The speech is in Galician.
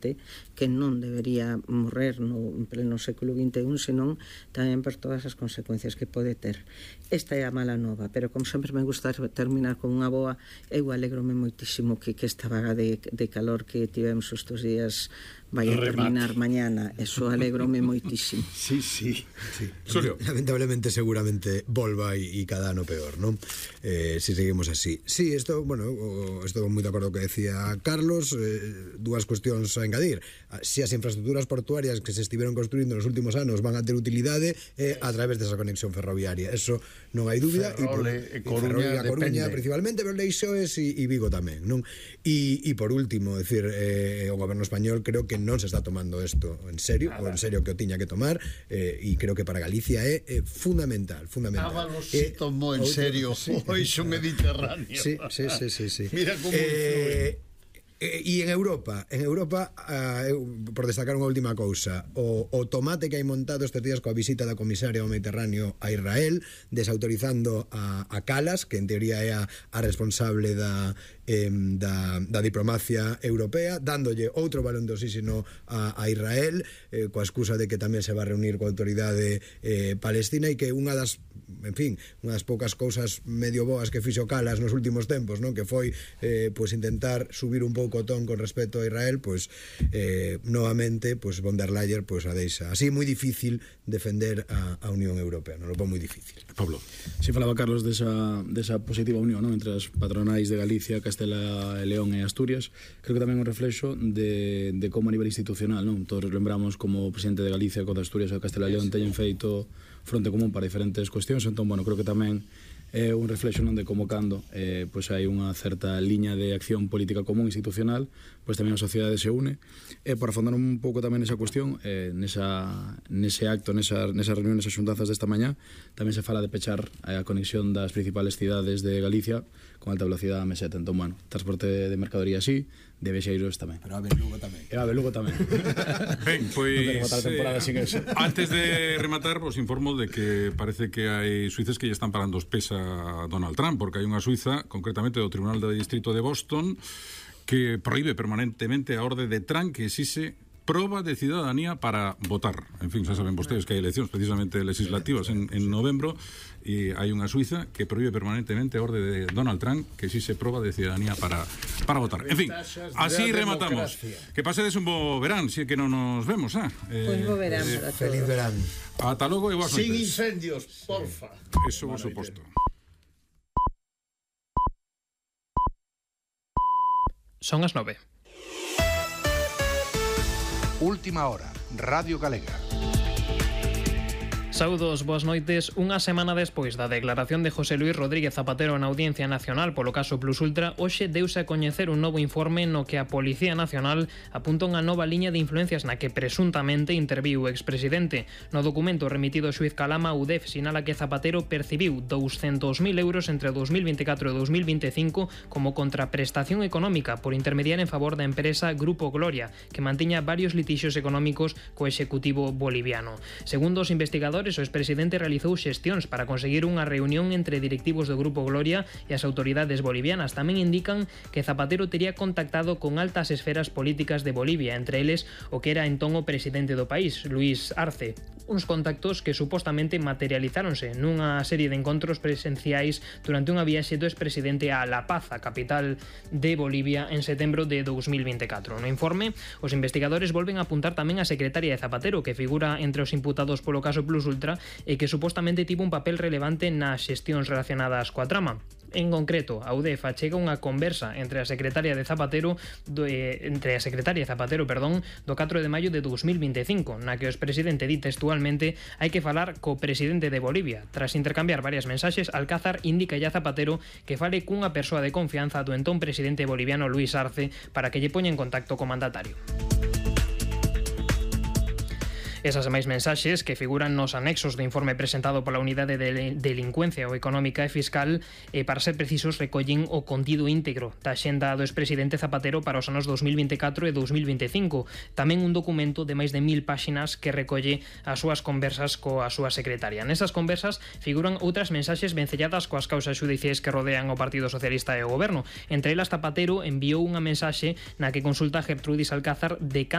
que non debería morrer en pleno século XXI, senón tamén por todas as consecuencias que pode ter. Esta é a mala nova, pero como sempre me gusta terminar con unha boa, eu alegrome moitísimo que esta vaga de calor que tivemos estes días vai a terminar mañana. Eso alegrome moitísimo. Sí. Lamentablemente seguramente volva e cada ano peor, non? Si seguimos así. Sí, estou moi de acordo co que decía Carlos. Dúas cuestións a engadir. Si as infraestructuras portuarias que se estiveron construindo nos últimos anos van a ter utilidade a través desa conexión ferroviaria, eso non hai dúbida. Coruña principalmente, pero Leixoes e Vigo tamén, non? E por último, decir, o goberno español creo que non se está tomando isto en serio, ou en serio que o tiña que tomar, e creo que para Galicia é fundamental. Ábalos se tomou en serio o eixo mediterráneo. Sí. Mira como influe. E en Europa, por destacar unha última cousa, o tomate que hai montado estes días coa visita da comisaria ao Mediterráneo a Israel, desautorizando a Calas, que en teoría é a responsable da diplomacia europea, dándolle outro balón de oxígeno a Israel, coa excusa de que tamén se va a reunir coa autoridade palestina, e que unha das poucas cousas medio boas que fixo Calas nos últimos tempos, non? Que foi intentar subir un pouco o ton con respecto a Israel, novamente von der Leyen a deixa así moi difícil defender a Unión Europea, non lo pon moi difícil. Pablo. Si falaba Carlos desa positiva unión, non, entre as patronais de Galicia, Castela e León e Asturias. Creo que tamén un reflexo de como a nivel institucional, non? Todos lembramos como o presidente de Galicia, co de Asturias e Castela e León teñen feito fronte común para diferentes cuestións, entón, creo que tamén é un reflexo, non, de como cando hai unha certa liña de acción política común institucional, tamén a sociedade se une. Por afondar un pouco tamén nesa cuestión, nese acto, nesas reunións, nesas xuntanzas desta mañá, tamén se fala de pechar a conexión das principales cidades de Galicia con alta velocidade a meseta. Entón, transporte de mercadoría así, de vexeiros tamén. Pero a Belugo tamén. Ben, pois antes de rematar, vos informo de que parece que hai suíces que lle están parando os pés a Donald Trump, porque hai unha suiza, concretamente do Tribunal de Distrito de Boston, que prohíbe permanentemente a orde de Trump que exixe proba de cidadanía para votar. En fin, xa saben vostedes que hai eleccións precisamente legislativas en novembro, e hai unha suiza que prohíbe permanentemente a orde de Donald Trump que exixe proba de cidadanía para votar. En fin, así rematamos. Que pasedes un bo verán, si é que non nos vemos, Pois bo verán para todos. Feliz verán. Ata logo e boas noites. Sin incendios, porfa. Eso por suposto. Son as 9. Última hora, Radio Galega. Saúdos, boas noites. Unha semana despois da declaración de José Luis Rodríguez Zapatero na Audiencia Nacional polo caso Plus Ultra, hoxe deuse a coñecer un novo informe no que a Policía Nacional apunta unha nova liña de influencias na que presuntamente interviu o expresidente. No documento remitido ao xuíz Calama, a UDEF sinala que Zapatero percibiu 200.000 euros entre 2024 e 2025 como contraprestación económica por intermediar en favor da empresa Grupo Gloria, que mantiña varios litixios económicos co executivo boliviano. Segundo os investigadores, o expresidente realizou xestións para conseguir unha reunión entre directivos do Grupo Gloria e as autoridades bolivianas. Tamén indican que Zapatero tería contactado con altas esferas políticas de Bolivia, entre eles o que era entón o presidente do país, Luis Arce. Uns contactos que supostamente materializáronse nunha serie de encontros presenciais durante unha viaxe do expresidente a La Paz, a capital de Bolivia, en setembro de 2024. No informe, os investigadores volven a apuntar tamén a secretaria de Zapatero, que figura entre os imputados polo caso Plus Ultra e que supostamente tivo un papel relevante nas xestións relacionadas coa trama. En concreto, a UDEF achega unha conversa entre a secretaria de Zapatero do 4 de maio de 2025, na que o expresidente di textualmente: hai que falar co presidente de Bolivia. Tras intercambiar varias mensaxes, Alcázar indica a Zapatero que fale cunha persoa de confianza do entón presidente boliviano Luis Arce para que lle poña en contacto co mandatario. Esas e máis mensaxes que figuran nos anexos do informe presentado pola Unidade de Delincuencia Económica e Fiscal para ser precisos, recollen o contido íntegro da xenda do expresidente Zapatero para os anos 2024 e 2025. Tamén un documento de máis de 1000 páxinas que recolle as súas conversas coa súa secretaria. Nesas conversas figuran outras mensaxes vencelladas coas causas xudiciais que rodean o Partido Socialista e o Goberno. Entre elas, Zapatero enviou unha mensaxe na que consulta a Gertrudis Alcázar de